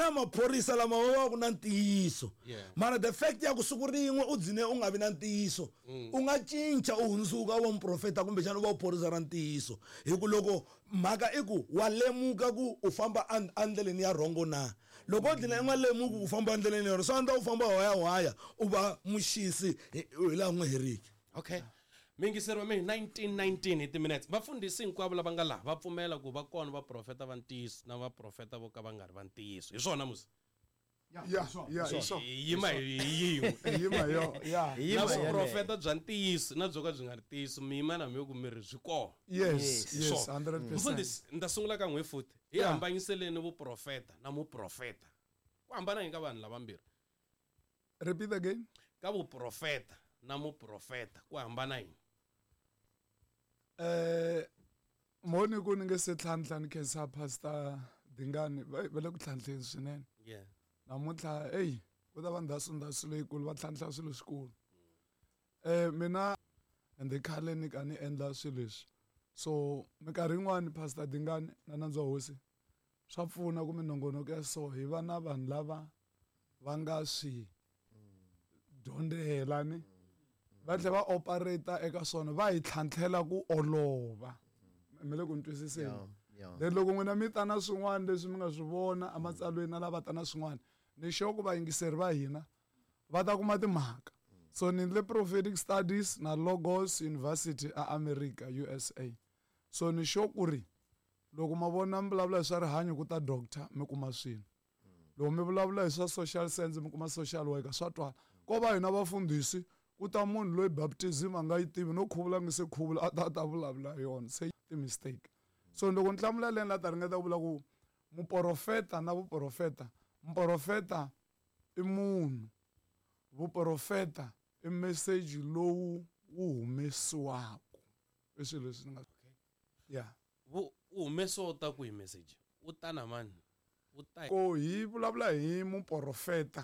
na maphorisa lama va va ku na ntiyiso. Mara the fact ya ku siku rin'we u dzine u nga vi na ntiyiso, u nga cinca u hundzuka u va muprofeta kumbexana u va phorisa ra ntiyiso. Hi ku loko mhaka i ku wa lemuka ku u famba endleleni ya rhongo na. Loko u dlina u nga lemuki ku famba endleleni ya rhongo, swi andza u famba waya u va muxisi hi laha u nga heriki. Okay. Mingiseri wa mina 1919 hi timinetse. Vafundhisi hinkwavo lava nga laha va pfumela ku va kona vaprofeta va ntiyiso na vaprofeta vo ka va nga ri va ntiyiso. Hi swona musi? Ya, ya, hi swona. Hi yima hi yin'we. Hi yima hi yona, ya. Hi yima Na yeleyo. vuprofeta bya ntiyiso na byo ka byi nga ri ntiyiso, mi yima na mi ku mi ri byi kona. Yes, Hi yes, swona. 100%. Mfundhisi, ni ta sungula ka n'we futhi. Hi hambanyiseleni vuprofeta na muprofeta. Ku hambana yini ka vanhu lavambirhi? Repeat again. Ka vuprofeta na muprofeta ku hambana yini? Moni ku ni nge se tlhantlha ni khensa Pastor Dingani, va le ku tlhantlheni swinene. Namuntlha, ey, ku ta va ndhasu ndhasu leyikulu, va tlhantlha swilo swikulu. Mina ndzi khale ni ka ni endla swilo leswi. So minkarhi yin'wani Pastor Dingani na nandza wa hosi swa pfuna ku minongonoko ya so hi va na vanhu lava va nga swi dyondzela ni va tlhela va operate eka swona, va hi tlhantlhela ku olova. Mi le ku ni twisiseni? Then loko n'wina mi ta na swin'wana leswi mi nga swi vona ematsalweni na lava ta na swin'wana, ni sure ku vayingiseri va hina va ta kuma timhaka. So ni endle prophetic studies na Logos University a America, USA. So ni sure ku ri loko ma vona mi vulavula hi swa rihanyo ku ta doctor mi kuma swilo. Loko mi vulavula hi swa social science mi kuma social worker, swa twala. Ko va hina vafundhisi ku ta munhu loyi baptism a nga yi tivi no khuvula nge se khuvula a ta ta vulavula hi yona, se ti mistake. So loko ni hlamula leni la ta ringeta ku vula ku muprofeta na vuprofeta, muprofeta i munhu, vuprofeta i message lowu wu humesiwaka. I swilo leswi ni nga Yeah. Wu humesiwa wu ta kwihi message? Wu ta na mani? Wu ta Ko hi vulavula hi muprofeta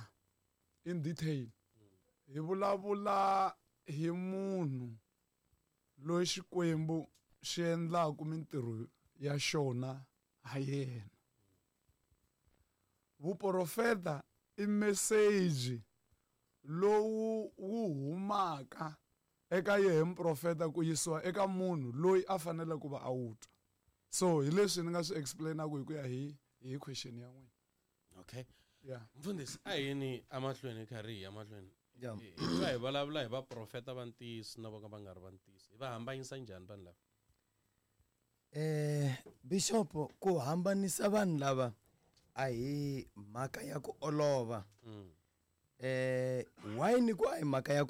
in detail. Hi vulavula hi munhu loyi Xikwembu xi endlaka mintirho ya xona ha yena. Vuprofeta i message lowu wu humaka eka yehe muprofeta ku yisiwa eka munhu loyi a faneleke ku va a wu twa. So hi leswi ni nga swi explain-aku hi ku ya hi question ya n'wina. Okay. Yeah. Mfundhisi, a hi yini emahlweni hi karhi hi ya mahlweni? Yeah. Hi twa hi vulavula hi vaprofeta va ntiyiso na vo ka va nga ri va ntiyiso. Hi va hambanyisa njhani vanhu lava? Bishop, ku hambanisa vanhu lava a hi mhaka ya ku olova. Why ni ku a hi mhaka ya